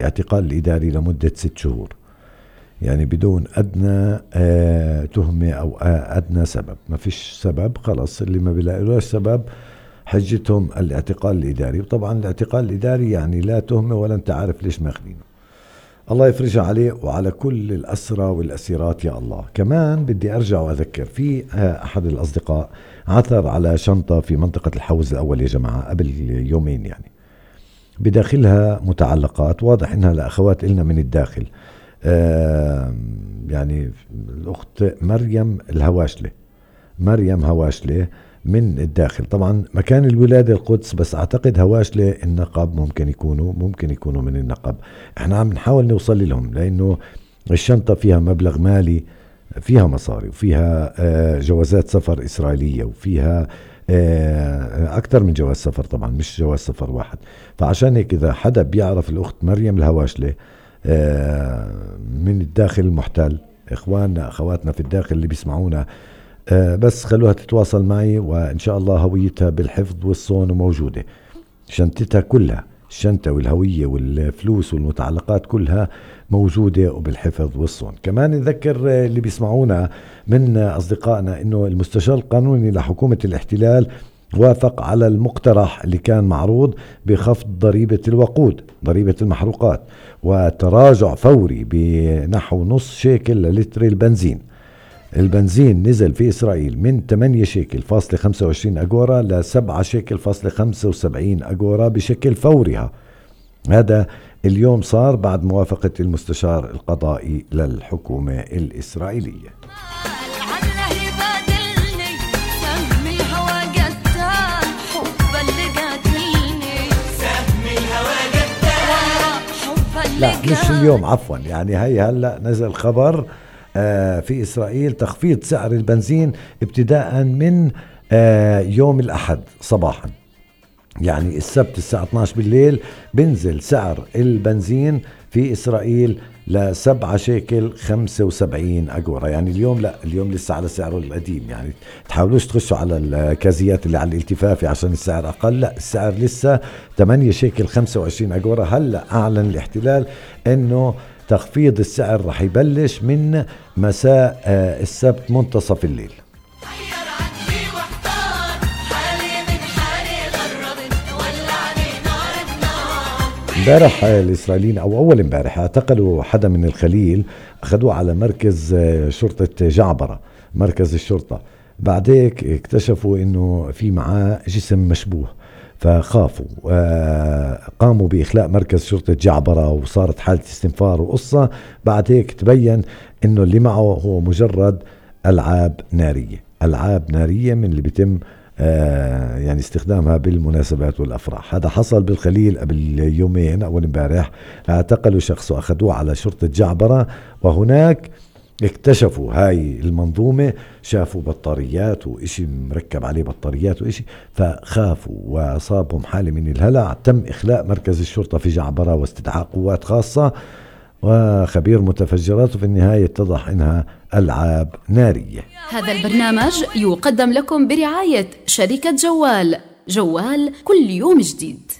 اعتقال الإداري لمدة 6 شهور، يعني بدون أدنى تهمة أو أدنى سبب. ما فيش سبب، خلاص اللي ما بيلاقيلوش سبب حجتهم الاعتقال الإداري. وطبعا الاعتقال الإداري يعني لا تهمة ولا أنت عارف ليش ماخدينه. الله يفرجها عليه وعلى كل الأسرى والأسيرات يا الله. كمان بدي أرجع وأذكر في أحد الأصدقاء عثر على شنطة في منطقة الحوز الأول يا جماعة قبل يومين، يعني بداخلها متعلقات، واضح إنها لأخوات إلنا من الداخل، يعني الأخت مريم هواشلة من الداخل. طبعا مكان الولادة القدس، بس أعتقد هواشلة النقب ممكن يكونوا من النقب. احنا عم نحاول نوصل لهم، لأنه الشنطة فيها مبلغ مالي، فيها مصاري، وفيها جوازات سفر إسرائيلية، وفيها أكثر من جواز سفر، طبعا مش جواز سفر واحد. فعشان هيك إذا حدا بيعرف الأخت مريم الهواشلة من الداخل المحتل، إخواننا أخواتنا في الداخل اللي بيسمعونا، بس خلوها تتواصل معي، وإن شاء الله هويتها بالحفظ والصون وموجودة. شنطتها كلها، الشنطة والهوية والفلوس والمتعلقات كلها موجودة وبالحفظ والصون. كمان نذكر اللي بيسمعونا من أصدقائنا إنه المستشار القانوني لحكومة الاحتلال وافق على المقترح اللي كان معروض بخفض ضريبة الوقود، ضريبة المحروقات، وتراجع فوري بنحو نص شيكل للتر البنزين. البنزين نزل في إسرائيل من 8 شيكل فاصلة 25 أجورا ل 7 شيكل فاصلة 75 أجورا بشكل فوري. هذا اليوم صار بعد موافقة المستشار القضائي للحكومة الإسرائيلية. لا مش اليوم، عفوا، يعني هي هلأ نزل خبر في إسرائيل تخفيض سعر البنزين ابتداء من يوم الأحد صباحا، يعني السبت الساعة 12 بالليل بنزل سعر البنزين في إسرائيل ل 7 شيكل 75 أجورا. يعني اليوم لا، اليوم لسه على سعره القديم، يعني تحاولوش تخشوا على الكازيات اللي على الالتفافي عشان السعر أقل، لا السعر لسه 8 شيكل 25 أجورا. هلأ أعلن الاحتلال إنه تخفيض السعر رح يبلش من مساء السبت منتصف الليل. امبارح الإسرائيليين أو أول امبارح اعتقلوا حدا من الخليل، أخذوه على مركز شرطة جعبرة، مركز الشرطة. بعديك اكتشفوا إنه في معاه جسم مشبوه، فخافوا قاموا بإخلاء مركز شرطة جعبرة، وصارت حالة استنفار وقصة. بعد هيك تبين إنه اللي معه هو مجرد ألعاب نارية من اللي بيتم يعني استخدامها بالمناسبات والأفراح. هذا حصل بالخليل قبل يومين، أول امبارح اعتقلوا شخص وأخذوه على شرطة جعبرة، وهناك اكتشفوا هاي المنظومة، شافوا بطاريات وإشي مركب عليه بطاريات وإشي، فخافوا وصابهم حالة من الهلع. تم إخلاء مركز الشرطة في جعبرة واستدعاء قوات خاصة وخبير متفجرات، وفي النهاية اتضح إنها ألعاب نارية. هذا البرنامج يقدم لكم برعاية شركة جوال كل يوم جديد.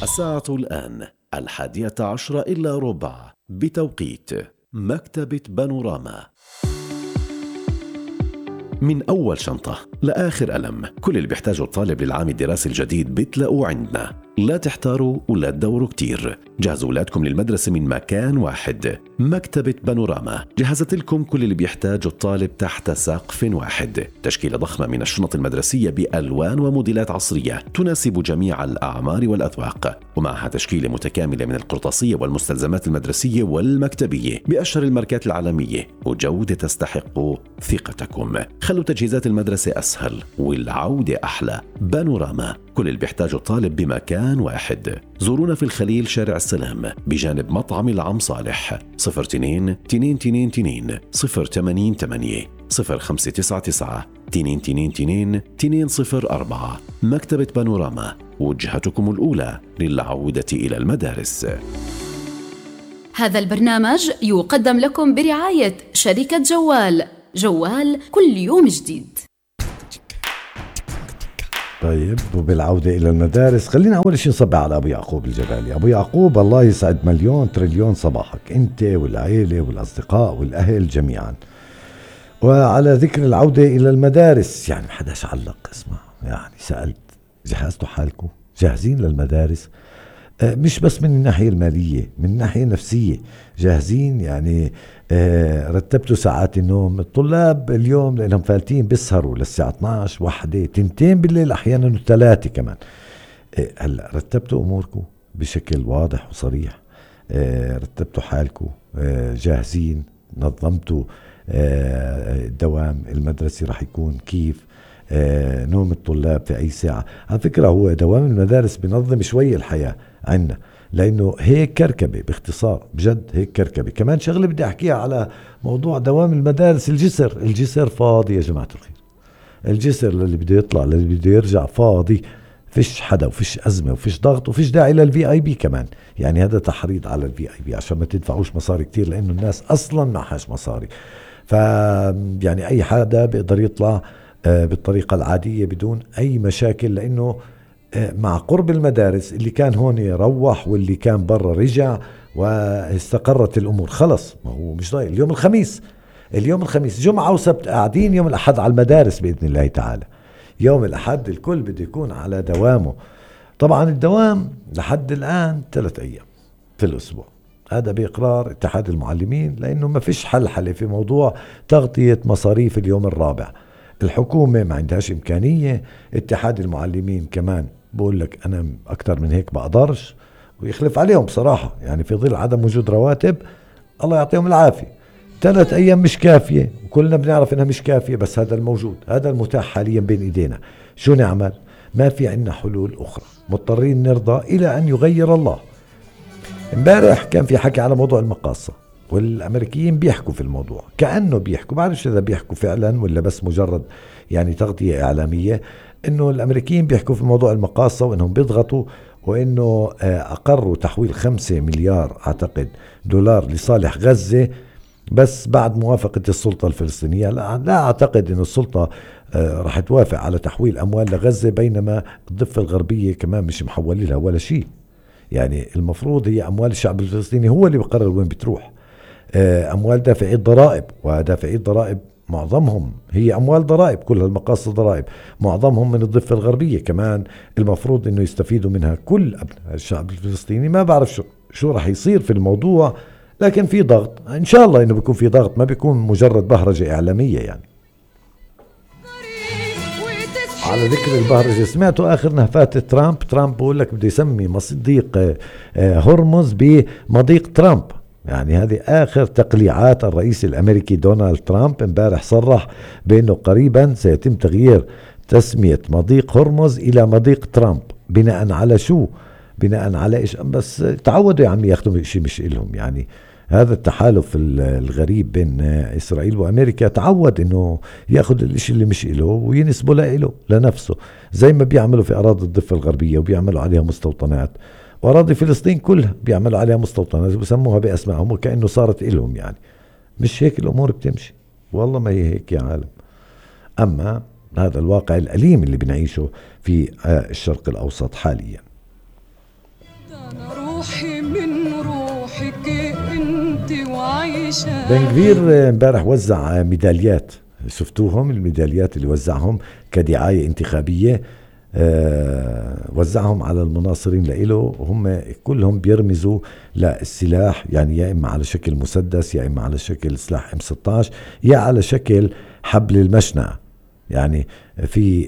الساعة الآن 11:10 بتوقيت مكتبة بانوراما. من أول شنطة لآخر قلم، كل اللي بيحتاجه الطالب للعام الدراسي الجديد بتلاقوه عندنا. لا تحتاروا ولا تدوروا كتير، جهزوا أولادكم للمدرسة من مكان واحد. مكتبة بانوراما جهزت لكم كل اللي بيحتاجه الطالب تحت سقف واحد. تشكيلة ضخمة من الشنط المدرسية بألوان وموديلات عصرية تناسب جميع الأعمار والأذواق، ومعها تشكيلة متكاملة من القرطاسية والمستلزمات المدرسية والمكتبية بأشهر الماركات العالمية، وجودة تستحق ثقتكم. خلوا تجهيزات المدرسة أسهل والعودة أحلى. بانوراما، كل اللي بيحتاجه الطالب بمكان واحد. زورونا في الخليل شارع السلام بجانب مطعم العم صالح. 02-222-088 0599-222-204. مكتبة بانوراما، وجهتكم الأولى للعودة إلى المدارس. هذا البرنامج يقدم لكم برعاية شركة جوال كل يوم جديد. طيب، وبالعودة إلى المدارس خلينا أول شيء نصبح على أبو يعقوب الجبالي. أبو يعقوب الله يسعد مليون تريليون صباحك أنت والعائلة والأصدقاء والأهل جميعا. وعلى ذكر العودة إلى المدارس، يعني محدش علق، اسمع يعني سألت جهزتوا حالكم؟ جاهزين للمدارس؟ مش بس من الناحية المالية، من الناحية النفسية جاهزين؟ يعني رتبتوا ساعات النوم؟ الطلاب اليوم لأنهم فالتين بيسهروا للساعة 12 1 2 بالليل أحيانا 3 كمان. هلأ رتبتوا أموركم بشكل واضح وصريح؟ رتبتوا حالكم؟ جاهزين؟ نظمتوا الدوام المدرسي رح يكون كيف؟ نوم الطلاب في أي ساعة؟ على فكرة هو دوام المدارس بنظم شوي الحياة عنا، لأنه هيك كركبة باختصار، بجد هيك كركبة. كمان شغلة بدي أحكيها على موضوع دوام المدارس، الجسر فاضي يا جماعة الخير. الجسر اللي بده يطلع اللي بده يرجع فاضي، فيش حدا وفيش أزمة وفيش ضغط وفيش داعي للVIP كمان. يعني هذا تحريض على الVIP عشان ما تدفعوش مصاري كتير، لأنه الناس أصلا معهاش مصاري. يعني أي حدا بيقدر يطلع بالطريقة العادية بدون أي مشاكل، لأنه مع قرب المدارس اللي كان هون روح واللي كان برا رجع واستقرت الأمور خلص. ما هو مش ضايق. اليوم الخميس جمعة وسبت قاعدين، يوم الأحد على المدارس بإذن الله تعالى. يوم الأحد الكل بده يكون على دوامه. طبعا الدوام لحد الآن 3 أيام في الأسبوع، هذا بإقرار اتحاد المعلمين، لأنه ما فيش حل في موضوع تغطية مصاريف اليوم الرابع. الحكومة ما عندهاش إمكانية، اتحاد المعلمين كمان بقول لك أنا أكتر من هيك بقدرش، ويخلف عليهم بصراحة. يعني في ظل عدم وجود رواتب الله يعطيهم العافية. 3 أيام مش كافية، وكلنا بنعرف إنها مش كافية، بس هذا الموجود، هذا المتاح حاليا بين إيدينا. شو نعمل؟ ما في عنا حلول أخرى، مضطرين نرضى إلى أن يغير الله. امبارح كان في حكي على موضوع المقاصة، والأمريكيين بيحكوا في الموضوع كأنه بيحكوا، بعرفش إذا بيحكوا فعلا ولا بس مجرد يعني تغطية إعلامية، إنه الأمريكيين بيحكوا في موضوع المقاصة وإنهم بيضغطوا، وإنه أقروا تحويل 5 مليار أعتقد دولار لصالح غزة، بس بعد موافقة السلطة الفلسطينية. لا أعتقد إنه السلطة رح توافق على تحويل أموال لغزة، بينما الضفة الغربية كمان مش محولي لها ولا شيء. يعني المفروض هي أموال الشعب الفلسطيني هو اللي بقرر وين بتروح. أموال دافعي الضرائب، ودافعي الضرائب معظمهم هي أموال ضرائب، كل المقاصد ضرائب، معظمهم من الضفة الغربية كمان، المفروض إنه يستفيدوا منها كل أبناء الشعب الفلسطيني. ما بعرف شو رح يصير في الموضوع، لكن في ضغط إن شاء الله إنه بيكون في ضغط، ما بيكون مجرد بهرجة إعلامية. يعني على ذكر البهرجة، سمعتوا آخر نهفات ترامب بقول لك بده يسمي مضيق هرمز بمضيق ترامب. يعني هذه آخر تقليعات الرئيس الأمريكي دونالد ترامب. امبارح صرح بأنه قريبا سيتم تغيير تسمية مضيق هرمز إلى مضيق ترامب. بناء على شو؟ بناء على إيش؟ بس تعودوا يا عمي ياخدوا شيء مش إلهم. يعني هذا التحالف الغريب بين إسرائيل وأمريكا تعود إنه ياخد الإشي اللي مش إله وينسبه له لنفسه، زي ما بيعملوا في أراضي الضفة الغربية وبيعملوا عليها مستوطنات، وأراضي فلسطين كلها بيعملوا عليها مستوطنات وبسموها بأسمائهم وكأنه صارت إلهم. يعني مش هيك الأمور بتمشي، والله ما هي هيك يا عالم. أما هذا الواقع الأليم اللي بنعيشه في الشرق الأوسط حاليا. بن غفير امبارح وزع ميداليات، شفتوهم الميداليات اللي وزعهم كدعاية انتخابية؟ وزعهم على المناصرين لإله، هم كلهم بيرمزوا للسلاح، يعني يا إما على شكل مسدس، يا إما على شكل سلاح M16، يا على شكل حبل المشنقة. يعني في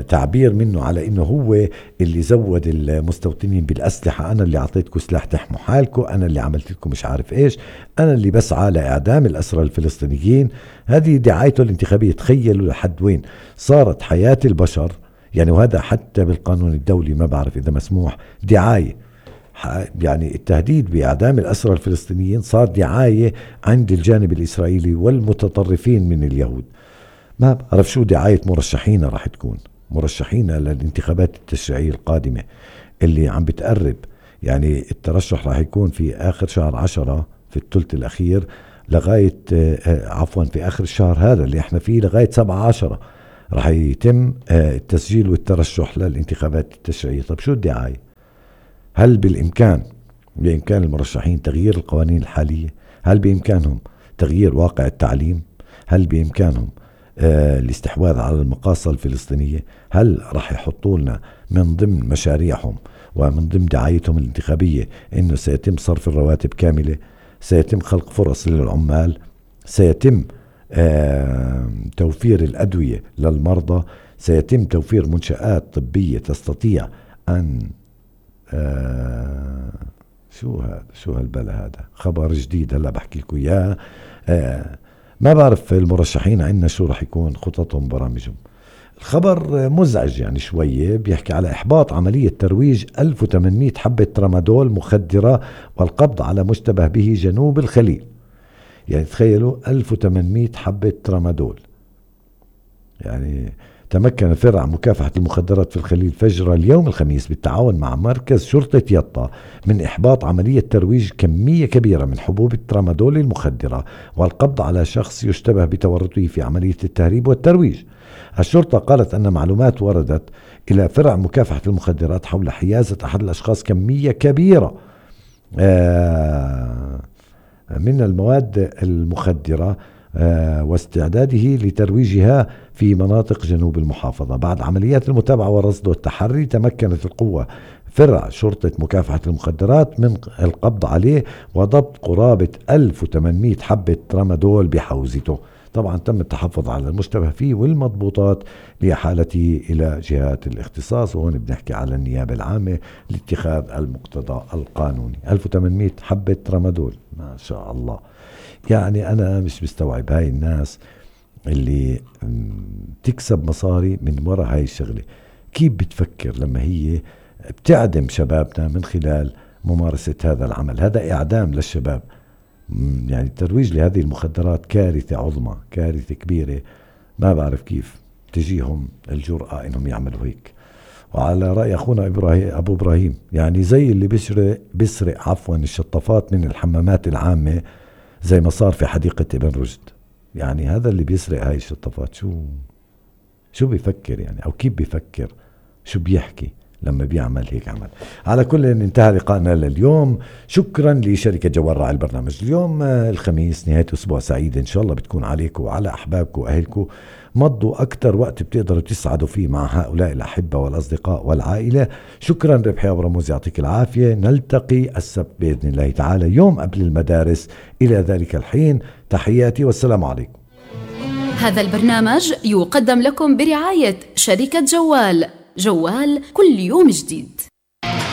تعبير منه على إنه هو اللي زود المستوطنين بالأسلحة، أنا اللي أعطيتكم سلاح تحموا حالكم، أنا اللي عملت لكم مش عارف إيش، أنا اللي بسعى لإعدام الأسرى الفلسطينيين. هذه دعايته الانتخابية. تخيلوا لحد وين صارت حياة البشر. يعني وهذا حتى بالقانون الدولي ما بعرف إذا مسموح دعاية. يعني التهديد بإعدام الأسرى الفلسطينيين صار دعاية عند الجانب الإسرائيلي والمتطرفين من اليهود. ما بعرف شو دعاية مرشحين راح تكون، مرشحين للانتخابات التشريعية القادمة اللي عم بتقرب. يعني الترشح راح يكون في آخر شهر 10 في الثلث الأخير، لغاية في آخر الشهر هذا اللي احنا فيه لغاية 7/10 رح يتم التسجيل والترشح للانتخابات التشريعية. طب شو الدعاية؟ هل بإمكان المرشحين تغيير القوانين الحالية؟ هل بإمكانهم تغيير واقع التعليم؟ هل بإمكانهم الاستحواذ على المقاصة الفلسطينية؟ هل رح يحطوا لنا من ضمن مشاريعهم ومن ضمن دعايتهم الانتخابية إنه سيتم صرف الرواتب كاملة، سيتم خلق فرص للعمال، سيتم توفير الأدوية للمرضى، سيتم توفير منشآت طبية تستطيع أن شو هالبلا هذا؟ خبر جديد هلا بحكي لكم إياه. ما بعرف المرشحين عندنا شو رح يكون خططهم برامجهم. الخبر مزعج يعني شوية، بيحكي على إحباط عملية ترويج 1800 حبة ترامادول مخدرة والقبض على مشتبه به جنوب الخليل. يعني تخيلوا 1800 حبة ترامادول. يعني تمكن فرع مكافحة المخدرات في الخليل فجر اليوم الخميس بالتعاون مع مركز شرطة يطا من إحباط عملية ترويج كمية كبيرة من حبوب الترامادول المخدرة والقبض على شخص يشتبه بتورطه في عملية التهريب والترويج. الشرطة قالت أن معلومات وردت إلى فرع مكافحة المخدرات حول حيازة أحد الأشخاص كمية كبيرة من المواد المخدرة واستعداده لترويجها في مناطق جنوب المحافظة. بعد عمليات المتابعة والرصد والتحري تمكنت القوة فرع شرطة مكافحة المخدرات من القبض عليه وضبط قرابة 1800 حبة ترامادول بحوزته. طبعا تم التحفظ على المشتبه فيه والمضبوطات لإحالته إلى جهات الاختصاص، وهون بنحكي على النيابة العامة لاتخاذ المقتضى القانوني. 1800 حبة ترامادول، ما شاء الله. يعني أنا مش مستوعب هاي الناس اللي تكسب مصاري من وراء هاي الشغلة، كيف بتفكر لما هي بتعدم شبابنا من خلال ممارسة هذا العمل؟ هذا إعدام للشباب. يعني الترويج لهذه المخدرات كارثة عظمى، كارثة كبيرة. ما بعرف كيف تجيهم الجرأة إنهم يعملوا هيك. وعلى رأي أخونا أبو إبراهيم، يعني زي اللي بيسرق الشطافات من الحمامات العامة زي ما صار في حديقة ابن رشد. يعني هذا اللي بيسرق هاي الشطافات شو بيفكر يعني، أو كيف بيفكر، شو بيحكي لما بيعمل هيك عمل. على كل انتهى لقائنا لليوم. شكرا لشركة جوال راعي البرنامج. اليوم الخميس، نهاية أسبوع سعيدة إن شاء الله بتكون عليكم وعلى أحبابكم وأهلكم. مضوا أكتر وقت بتقدروا تسعدوا فيه مع هؤلاء الأحبة والأصدقاء والعائلة. شكرا. ربحي أبو رموز يعطيك العافية. نلتقي السبت بإذن الله تعالى يوم قبل المدارس. إلى ذلك الحين تحياتي والسلام عليكم. هذا البرنامج يقدم لكم برعاية شركة جوال كل يوم جديد.